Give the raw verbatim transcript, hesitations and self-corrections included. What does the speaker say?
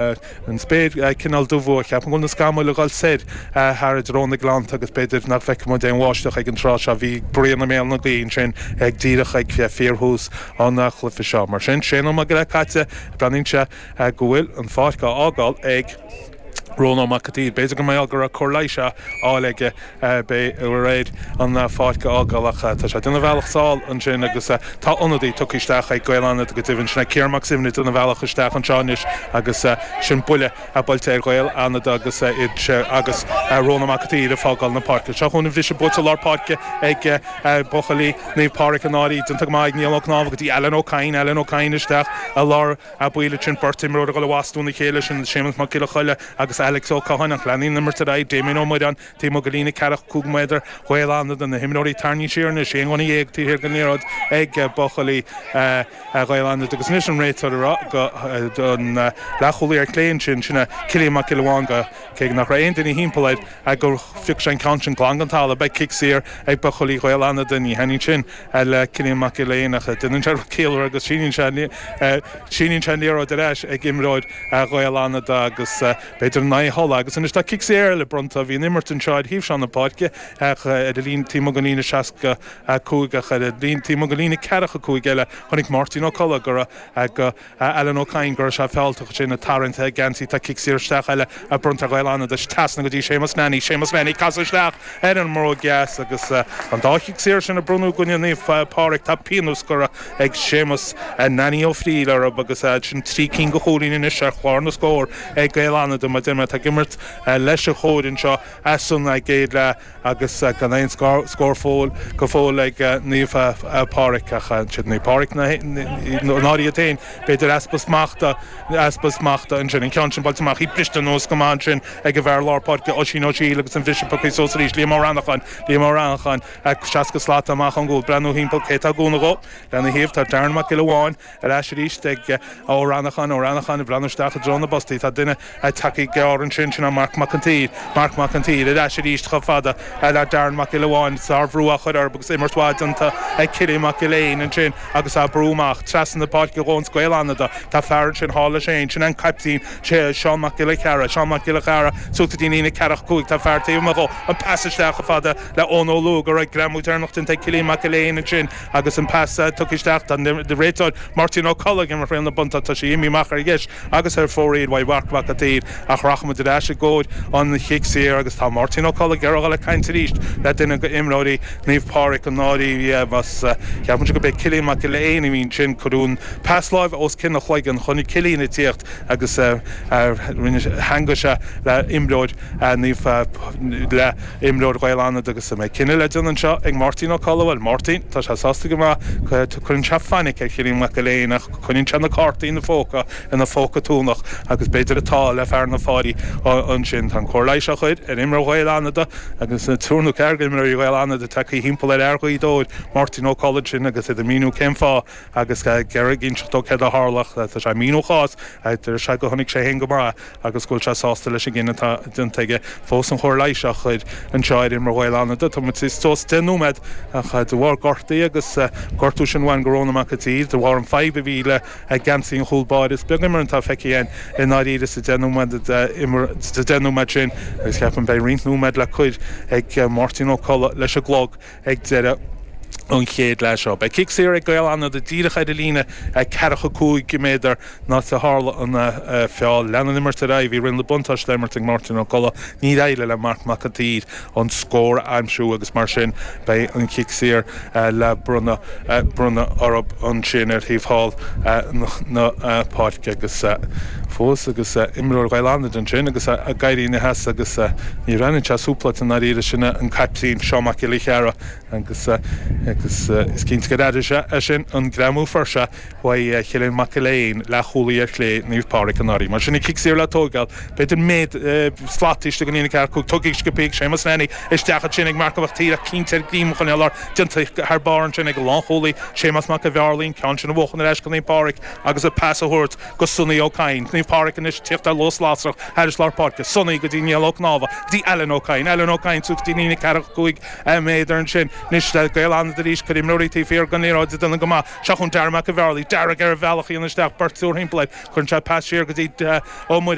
An spéir cineál dubh, ceapaim go bhfuil na scamaill ag dul soir thar i dtreo na Gleannta agus b'fhéidir nach bhfeicfidh muid aon bháisteach ag an tráth seo. Bhí bruíon i mbéal na gaoithe ansin ag díreach ag fíorthús an chluiche seo. Mar sin, sé nóiméad go leith caite, breathnaíonn sé go bhfuil an pháirc á fhágáil ag Rónán Mac an tSaoir. B'fhéidir go mbeadh go raibh cóir leighis á fháil aige b'fhéidir an pháirc a fhágáil ach tá sé ag déanamh a bhealach sall ansin agus tá ionadaí tugtha isteach ag Gaeil Fhánada go deimhin. Sin é Ciarán Mac Suibhne ag déanamh a bhealach isteach anseo anois agus sin buille buailte ar Ghaeil Fhánada agus iad agus Rónán Mac an tSaoir ag fágáil na páirce. Seo chugainn an bhriseadh buailte lár páirce ag buachaillí Naomh Pádraig an Fhairche. Déanta go maith ag Niall Ó Cnámha go dtí Alan Ó Cadhain. Alan Ó Cadhain isteach i lár baill ansin beirt imreoir ag dul i bhfastú na chéile sin Séamus Mac Giolla Choille agus Alex Ó Catháin ach leanann an imirt ar aghaidh Damien Ó Muireáin taobh amuigh de líne ceathracha cúig méadar Ghaeil Fhánada na himreoirí tarraingthe siar anois aon dhuine dhéag taobh thiar den liathróid ag buachaillí Ghaeil Fhánada agus anois an réiteoir ag rá don leathchúlaí ar clé ansin sin é Cillian Mac Giolla Bháin go cé nach raibh aon duine thimpeall air gur phioc sé an ceann sin glan den talamh beidh cic saor ag buachaillí Ghaeil Fhánada ní thaitníonn sin le Cillian Mac Giolla Éin ach déanann sé rud ciallmhar agus síníonn sé síníonn sé an liathróid ar ais ag imreoir Ghaeil Fhánada agus b'fhéidir in aghaidh a thola agus anois tá cic saor eile bronnta bhí an imirt anseo ar thaobh seo na páirce ach ar an líne taobh amuigh den líne seasca cúig ach ar an líne taobh amuigh den líne ceathracha cúig eile chonaic Máirtín Ó Colla go raibh go Alan Ó Cadhain go raibh sé fealltach sin ag tarraingt ag geansaí tá cic saor isteach eile a bronnta ar Ghaeil Fhánada trasna go dtí Séamus Nanny Séamus Nanny casadh isteach ar an mbróg dheas agus an dá chic saor sin a bronnadh i gcoinne Naomh Pádraig tá pionós curtha ag Séamus Nanny Ó Frighil orthu agus sin trí cinn de chúilíní anois ar chlár na scór ag Gaeil Fhánada mar deir mé atá ag imirt leis an chóir anseo as an gcéad leath agus gan aon scór fóill go fóill ag Naomh Pádraig ach siad Naomh Pádraig náirí iad féin b'fhéidir easpa smachta easpa smachta ansin an ceann sin buailte amach í briste anuas go maith ansin ag an bhfear lár páirce Oisín Ó Siadhail agus an bhriseadh pioctha suas arís Liam Ó Reannacháin Liam Ó Reannacháin seasca slat amach ón gcúl breathnú thimpeall cé atá ag cúnamh dhó lena thaobh tá Darren Mac Giolla Bháin ar ais arís ag Ó Reannacháin Ó Reannacháin ag breathnú isteach i dtreo na bpostaí tá duine tagtha gearr ansin sin Marc Mac an tSaoir Marc Mac an tSaoir ar ais arís chomh fada le Darren Mac Giolla Bháin sárbhrú á chur orthu agus imirt mhaith déanta ag Cillian Mac Giolla Éin ansin agus á brú amach trasna na páirce dhóns Gaeil Fhánada tá fear ansin thall leis féin sin an caiptín sé Seán Mac Giolla Chearra Seán Mac Giolla Chearra suas go dtí an líne ceathracha cúig tá fear taobh amuigh dhó an pas isteach chomh fada le Eoin Ó Lúg go raibh greamú deireanach déanta ag Cillian Mac Giolla Éin ansin agus an pas tugtha isteach tá an réiteoir Máirtín Ó Colla ag imirt riail na buntáiste tá sé imithe amach ar dheis agus ar fóraoil uaidh Mharc Mac an tSaoir ach rachaimid ar ais i gcomhair an chic saor agus tá Máirtín Ó Colla ag iarraidh dul ag caint arís le duine d'imreoirí Naomh Pádraig an ndáiríre más ceapaimse go b'é Cillian Mac Giolla Éin a bhí ansin cuireadh an pas láimhe os cionn a chloigeann chonaic Cillian ag tíocht agus rinne theangaigh sé le imreoir Naomh le imreoir Ghaeil Fhánada agus an mbeidh cinneadh le déanamh anseo ag Máirtín Ó Colla bhuel Máirtín tá sé sásta go maith cuireann sé fainic ar Chillian Mac Giolla Éin ach coinníonn sé na cártaí ina phóca ina phóca tónach agus b'fhéidir atá le fear na Fáirí ansin tá an cóir leighis á chur ar imreoir Ghaeil Fhánada agus triúr nó ceathrar d'imreoirí Ghaeil Fhánada tagtha thimpeall ar fhear Ghaoth Dobhair Máirtín Ó Colla sin agus iad ag míniú cén fáth agus ag iarraidh inseacht dó céard a tharla tá sé ag míniú a chás deir sé go chonaic sé féin go maith agus go bhfuil sé sásta leis an gcinneadh atá déanta aige fós an chóir leighis á chur anseo ar imreoir Ghaeil Fhánada tá muid suas deich nóiméad ach de bharr gortaí agus gortú sin amháin go Rónán Mac an tSaoir de bharr an fadhb a bhí le geansaí an chúl báire is beag imirt atá feicthe againn i ndáiríre sa deich nóiméad sa deich nóiméad sin agus ceapaim beidh roinnt nóiméad le cur ag Máirtín Ó Colla leis an gclog ag deireadh an chéad leath seo. Beidh cic saor ag Gaeil Fhánada díreach ar an líne ceathracha cúig méadar an áit a tharla an feall. Lean an imirt ar aghaidh, bhí riail na buntáiste á imirt ag Máirtín Ó Colla. Níor éirigh le Marc Mac an tSaoir an scór a aimsiú agus mar sin beidh an cic saor le bronnadh bronnadh orthu ansin ar thaobh thall na páirce agus fós agus imreoir Ghaeil Fhánada ansin agus ag éirí ina sheasamh agus ní bhreathnaíonn sé súpláilte i ndáiríre sin an caiptín Seán Mac Giolla Chearra agus agus is cinnte gur airigh sé é sin an greamú a fuair sé uaidh Chillian Mac Giolla Éin leathchúlaí ar chlé Naomh Pádraig an Fhairche. Mar sin an cic saor le tógáil b'fhéidir méid slat istigh den líne ceathracha cúig tugtha sciobtha ag Séamus Nanny isteach ansin ag Marc Mac Tíre cinnte ar ghreim a choinneáil air déanta thar barr ansin ag an lánchúlaí Séamus Mac an Bhearlaí an ceann sin a bhuachan ar ais go Naomh Pádraig agus an pas a thabhairt go Sonny Ó Cadhain. Naomh Pádraig anois tíocht ar luas lasrach thairis lár páirce Sonny go dtí Niall Ó Cnámha dtí Alan Ó Cadhain Alan Ó Cadhain suas dtí líne ceathracha cúig méadar ansin anois Gaeil Fhánada arís cuid imreoirí taobh thiar den liathróid ag déanamh go maith seo chun Dara Mac an Bhearlaí Darragh ar a bhealach in isteach beirt timpeall air chuireann sé pas siar go dtí Ó Muire